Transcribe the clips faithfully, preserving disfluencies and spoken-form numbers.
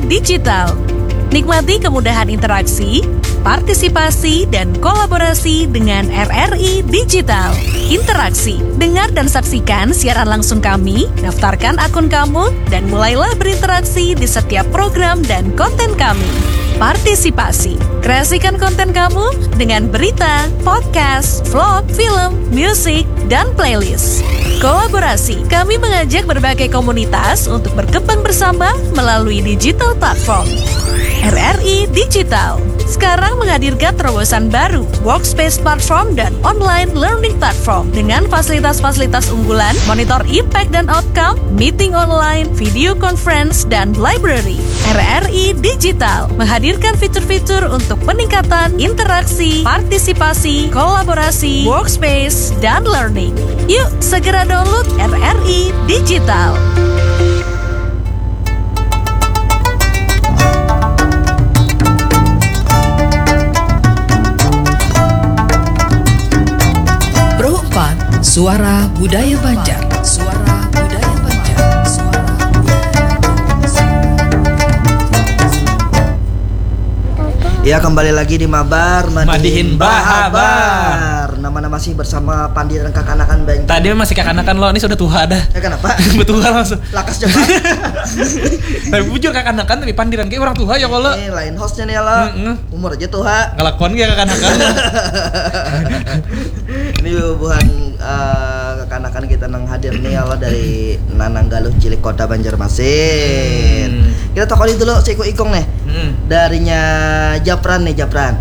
Digital. Nikmati kemudahan interaksi, partisipasi, dan kolaborasi dengan R R I Digital. Interaksi, dengar dan saksikan siaran langsung kami, daftarkan akun kamu, dan mulailah berinteraksi di setiap program dan konten kami. Partisipasi, kreasikan konten kamu dengan berita, podcast, vlog, film, musik, dan playlist. Kolaborasi, kami mengajak berbagai komunitas untuk berkembang bersama melalui digital platform. R R I Digital sekarang menghadirkan terobosan baru, workspace platform dan online learning platform dengan fasilitas-fasilitas unggulan, monitor impact dan outcome, meeting online, video conference, dan library. R R I Digital menghadirkan fitur-fitur untuk peningkatan interaksi, partisipasi, kolaborasi, workspace, dan learning. Yuk, segera download R R I Digital. Pro empat, Suara Budaya Banjar. Suara Budaya Banjar. Suara Budaya Banjar. Ya, kembali lagi di Mabar, madihin Madihin Bahabar. Bahabar. Nama-nama masih bersama Pandi dan kakanakan Banjar. Tadi masih kakanakan lo, ini sudah tuha dah. Ya, kenapa? Betul langsung. Lakas jaman. Tapi bujur kakanakan, tapi Pandi dan kayak orang tuha ya kalau. Eh, lain hostnya nih lah. Mm-mm. Umur aja tuha. Ngelakuan kayak kakanakan. Ini bubuhan, eh, kakanakan kita nang hadir nih, Allah, dari Nanang Galuh Cilik, Kota Banjarmasin. Hmm. Kita takoni dulu si Iko Ikong nih. Hmm. Darinya Japran nih, Japran.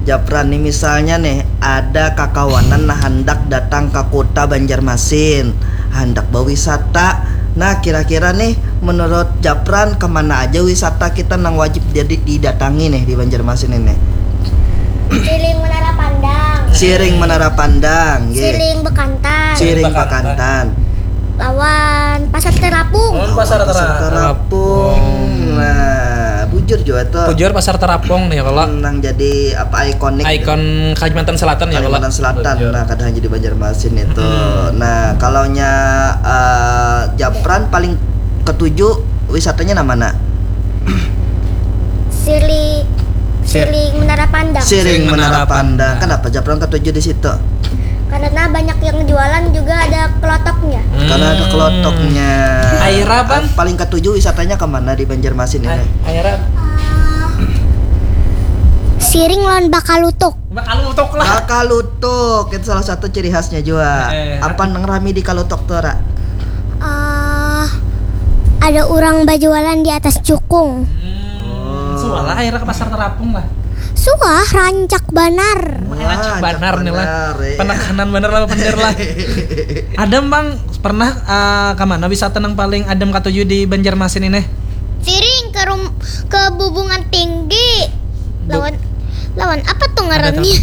Japran nih, misalnya nih, ada kakawanan nah handak datang ke Kota Banjarmasin, handak berwisata. Nah, kira-kira nih, menurut Japran, kemana aja wisata kita nang wajib jadi didatangi nih di Banjarmasin ini? Siring Menara Pandang. Siring Menara Pandang, nggih. Siring Bekantan. Siring Bekantan. Bekantan. Lawan Pasar Terapung. Lawan Pasar Terapung. Terapung. Nah, bujur juga tuh. Bujur Pasar Terapung nih kalau. Nang jadi apa, ikonik. Ikon Kalimantan Selatan ya kalau. Kalimantan Selatan. Bujur. Nah, kadang jadi Banjarmasin itu. Hmm. Nah, kalau nya, eh, Japran paling ketuju wisatanya nama mana? Sili, Sir- Siring Menara Pandang. Siring Menara Pandang. Kenapa Japran ketuju di situ? Karena banyak yang jualan, juga ada kelotoknya. Hmm. Karena ada kelotoknya. Aira, Bang? Paling ketuju wisatanya kemana di Banjarmasin ini? Aira. Ah, siring lawan bakalutuk. Bakalutuk lah. Bakalutuk itu salah satu ciri khasnya juga. Eh. Apa nang rami di kalutuk tuh, Ra? Ah, ada orang berjualan di atas jukung. Hmm. Oh. Suah lah, akhirnya ke Pasar Terapung lah. Suah, rancak banar. Wah, rancak banar nih lah. Benar, iya. Penekanan benar lah, bener lah. Ada, Bang, pernah, eh, ke mana wisata yang paling adem katuju di Banjarmasin ini? Siring ke rum-, ke Bubungan Tinggi. Bu- lawan, lawan apa tuh ngarannya?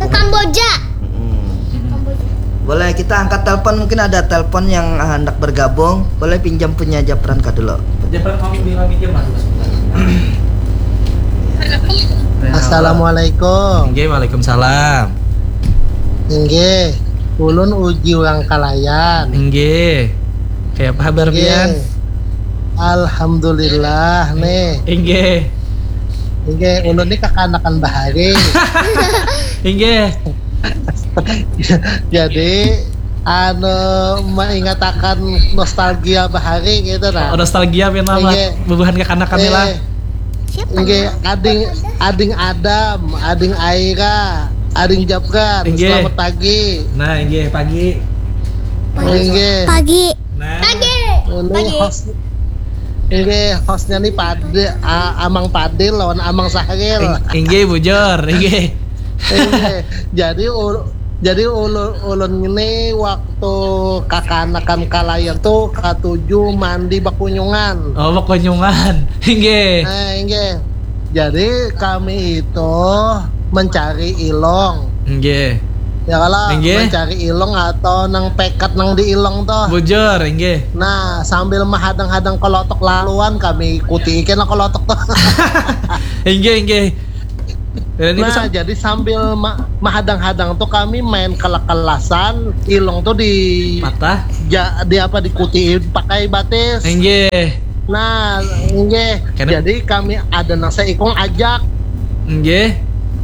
Ke Kamboja. Mm-mm. Boleh kita angkat telepon, mungkin ada telepon yang hendak bergabung. Boleh pinjam punya Japran ka dulu. Japran mau pinjam, Mas. Assalamualaikum. Inggih, waalaikumsalam. Inggih, ulun Uji Wangkalayan. Inggih. Kayak apa kabar pian? Alhamdulillah nih. Inggih. Inggih, ulun nih kakanakan bahari. Inggih. Jadi, anu, mengingatakan nostalgia bahari gitu nah. Oh, nostalgia pian lah. Inggih. Bubuhan kakanakan nih lah. Eh, Siapa inggih, ya? Ading, Ading Adam, Ading Aira, Ading Japran. Inggih. Selamat pagi. Nah, inggih, pagi. Inggih. Pagi. Nah. Pagi. Ini pagi. Host, ini hostnya nih Pade, A-, Amang Padil lawan Amang Sahril. Ing-, inggih, bujur, inggih. Inggih. Jadi ul-, jadi ulun, ulun ini waktu kakanakan kalayan tuh katuju mandi bakunyungan. Oh, bakunyungan. Inggih. Nah, inggih. Jadi kami itu mencari ilong. Inggih. Ya kalau inggih. Mencari ilong atau nang pekat nang di ilong tuh. Bujur, inggih. Nah, sambil mahadang-hadang kelotok laluan kami ikuti kena kelotok tuh. Inggih, inggih. Dan ini nah, sam- jadi sambil ma-, mahadang-hadang tuh kami main kelak-kelasan, ilong tuh di patah. Ja-, di apa, dikuti pakai batis. Inggih. Nah, nggih. Jadi kami ada nang saikung ajak. Nggih.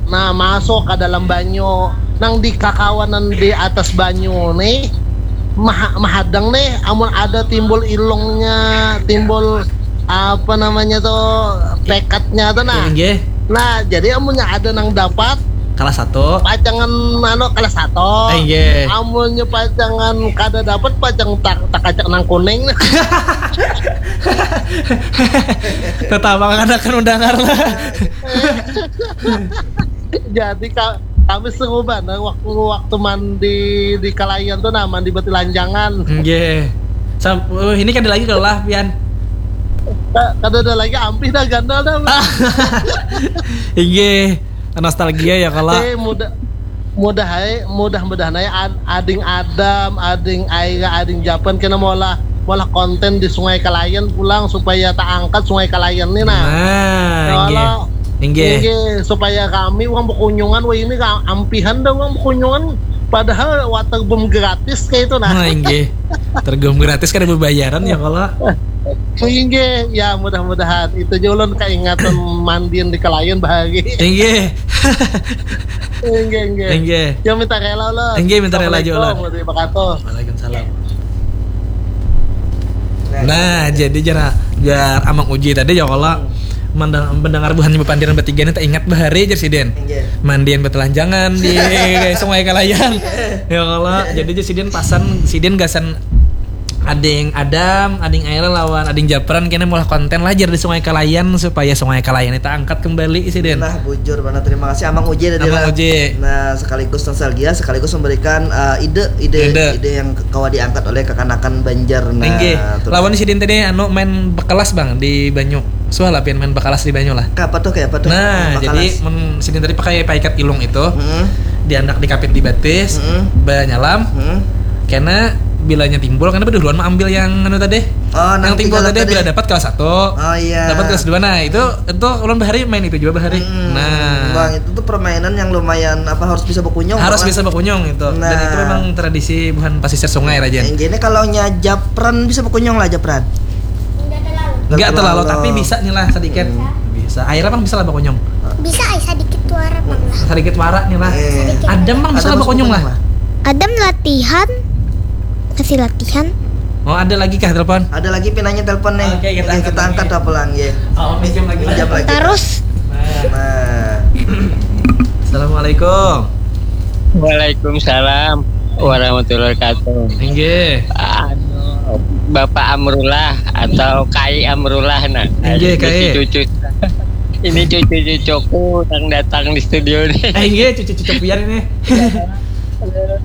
Nah, masuk ke dalam banyu. Nang di kakawanan di atas banyu nih, maha-, mahadang nih, amun ada timbul ilungnya, timbul apa namanya tuh, tekadnya tuh, nah. Nggih. Nah, jadi amunnya ada nang dapat, kelas satu. Pacangan anu kelas satu. Eh, nggih. Amunnya pacangan kada dapat, pacang tak, tak kacak nang kuning. Tetawa kan akan mendengar lah. Jadi ka-, kami seru banar waktu, waktu mandi di Kalayan tuh, nah, mandi betilanjangan. Nggih. Sam-, oh, ini kada lagi kelah, pian. Ka-, kada ada lagi, ampih dah, gandal dah. Nggih. Nostalgia ya kalau. Eh, mudah, mudah hai, mudah-mudahan ai ad-, ading Adam, ading Aira, ading Japan kena maulah, maulah konten di Sungai Kalayan pulang supaya tak angkat Sungai Kalayan nih, nah. Nah, ya nggih. Allah. Nggih. Nggih, supaya kami uang berkunjungan, wah, ini ka-, ampihan dah uang berkunjungan, padahal water boom gratis kayak itu, nah. Nah, nggih. Tergum gratis kan ada bayaran ya kalau. Inggih, ya, mudah-mudahan itu aja ulun kaingatan mandian di Kalayan bahari. Inggih. Inggih, inggih. Inggih. Ya, minta rela lah. Inggih, minta rela aja lah. Assalamualaikum warahmatullahi wabarakatuh. Waalaikumsalam. Nah, jadi jar, jar Amang Uji tadi ya kalau mendeng-, mendengar buhan bapandiran bertiga ini tak ingat bahari jar sidin. Inggih. Mandian bertelanjangan di Sungai Kalayan. Ya kalau, jadi jar sidin pasan, sidin gasan ading Adam, ading Aira lawan ading Japran kena maulah konten lah jar di Sungai Kalayan supaya Sungai Kalayan itu angkat kembali sidin. Nah, bujur banar. Terima kasih Amang Uji tadi Amang lah. Uji. Nah, sekaligus nostalgia, sekaligus memberikan, eh, ide, ide, ide, ide yang kawa diangkat oleh kekanakan Banjar. Nah, inggih. Lawan sidin tadi anu main bekelas, Bang, di banyu. Suah lah pian main bekelas di banyu lah. Kayak apa tuh, kayak apa tuh? Nah, jadi mun sidin tadi pakai paikat ilung itu, hmm, diandak dikapit di batis, hmm, banyalam. Hmm. Karena bilanya timbul, karena beduluan mengambil yang anu tadi. Oh, yang timbul tadi, bila dapat kelas satu. Oh, iya. Dapat kelas dua. Nah, itu, itu ulun bahari main itu juga bahari. Hmm. Nah. Bang, itu tuh permainan yang lumayan apa, harus bisa berkunyung, harus bisa berkunyung itu. Nah. Dan itu memang tradisi buhan pasisir sungai, Rajan. Yang gini kalau nya Japran bisa berkunyung lah, Japran. Enggak terlalu, tapi bisa nih lah sedikit. Hmm. Bisa. Aira pang bisa lah berkunyung. Bisa ai sedikit wara pang lah. Sedikit wara nih lah. Eh. Sedikit. Adam pang bisa lah berkunyung lah. Adam latihan. Masih latihan. Oh, ada lagi kah telepon? Ada lagi pinanya telepon nih. Oke, kita angkat lagi. Oke, kita angkat apa lagi? Oh, pinjam lagi lah. Pinjam lagi. Terus. Nah. Nah. Assalamualaikum. Waalaikumsalam warahmatullahi wabarakatuh. Inggih. Anu, Bapak Amrullah atau Kai Amrullah, nah. Inggih, Kai. Cucu-cucu. Ini cucu-cucuku yang datang di studio nih. Eh, inggih, cucu-cucu pian ini.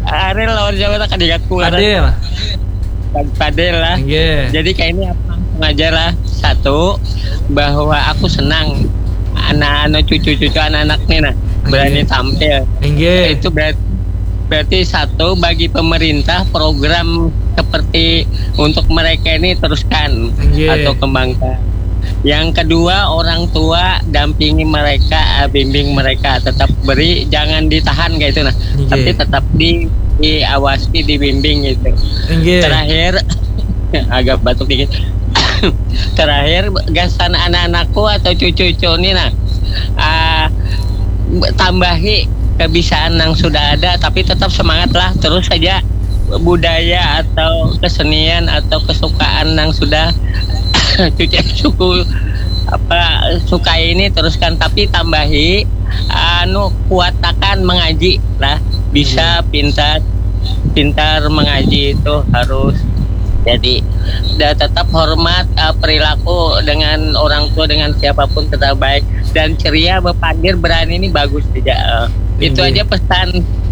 Ariel lawan siapa tak kadigatku, Ariel. Fadil. Fadil lah. Inggih. Jadi kayak ini apa, langsung aja lah. Satu, bahwa aku senang anak-anak, cucu-cucu anak-anak nih, nah, berani tampil. Inggih. Itu berarti, berarti satu, bagi pemerintah program seperti untuk mereka ini teruskan, inggih, atau kembangkan. Yang kedua, orang tua dampingi mereka, eh, bimbing mereka, tetap beri, jangan ditahan kayak itu nah. Inggih. Tapi tetap di, diawasi, dibimbing gitu. Inggih. Terakhir, agak batuk dikit. Terakhir, gasan anak-anakku atau cucu-cucu nih nah, ah, tambahi kebisaan yang sudah ada, tapi tetap semangat lah, terus saja budaya atau kesenian atau kesukaan yang sudah cucu suku apa suka ini teruskan, tapi tambahi anu kuatakan mengaji lah, bisa, iya, pintar, pintar mengaji itu harus. Jadi, dan tetap hormat, eh, perilaku dengan orang tua, dengan siapapun tetap baik dan ceria, berpandir berani ini bagus saja. Eh, itu, inggih, aja pesan,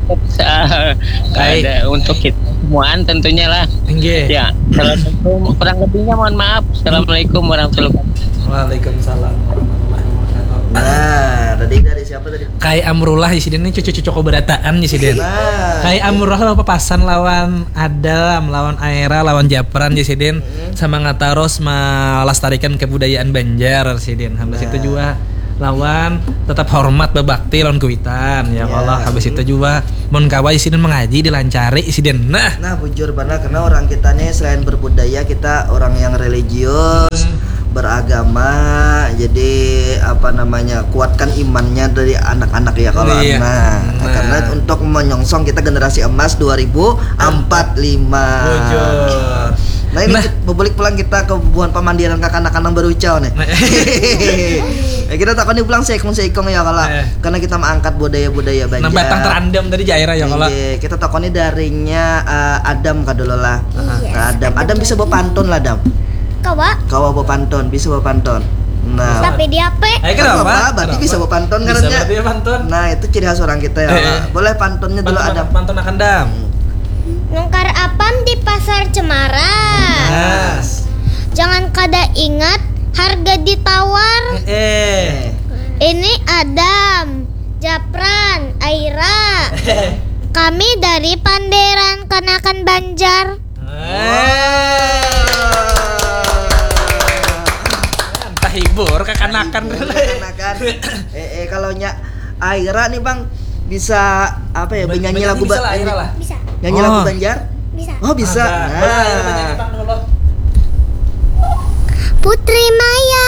eh, baik, ada untuk kita semuaan tentunya lah. Inggih. Ya, assalamualaikum. Kurang lebihnya mohon maaf. Assalamualaikum warahmatullahi wabarakatuh. Waalaikumsalam warahmatullahi wabarakatuh. Nah, tadi dari siapa tadi? Kai Amrullah di sini nih, cucu-cucu keberataan di sini. Nah. Kai Amrullah lah papasan lawan Adam, lawan Aira, lawan Japran di sini. Mm-mm. Semangat terus melestarikan kebudayaan Banjar sidin. Habis itu, nah, juga lawan tetap hormat bebakti lawan kuitan ya, iya, Allah. Habis itu juga mun kawa sidin mengaji dilancari sidin. Nah. Nah, bujur banar karena orang kita nih selain berbudaya, kita orang yang religius. Hmm. beragama, jadi apa namanya, kuatkan imannya dari anak-anak ya kalau. Iya. Nah, nah, karena untuk menyongsong kita generasi emas dua ribu empat lima. Bujur. Nah, ini nah, kita balik pulang kita ke bubuhan pamandiran kakanakan nang barucau nih. Nah. Ya, kita takoni pulang seikung-seikung ya kalau, eh, karena kita mengangkat budaya-budaya Banjar. Nah, batang terandam tadi jaira ya kalau. Iya, kita takoni darinya, eh, Adam kadulu lah. Iya. Nah, Adam, Adam bisa bapantun lah, Adam. Kawa. Kawa bapantun, bisa bapantun. Nah. Tapi di H P. Eh, kenapa? Apa, berarti bisa bapantun. Bisa karena berarti ya pantun. Nah, itu ciri khas orang kita ya. Eh, eh. Boleh pantunnya dulu, Adam. Pantun akan, Dam. Nukar apam di Pasar Cemara. Yes. Jangan kada ingat harga ditawar. Eh, eh. Ini Adam, Japran, Aira. Kami dari Panderan Kanakan Banjar. Eh. Entah hibur kakanakan. Hibur kakanakan. Eh, eh, kalau nya Aira nih, Bang, bisa apa ya, bernyanyi lagu, bisa lah, Aira lah. Bisa. Nyanyi lagu Banjar? Bisa. Oh, bisa. Nah. Boleh, Aira, nyanyi, Bang, dulu. Putri Maya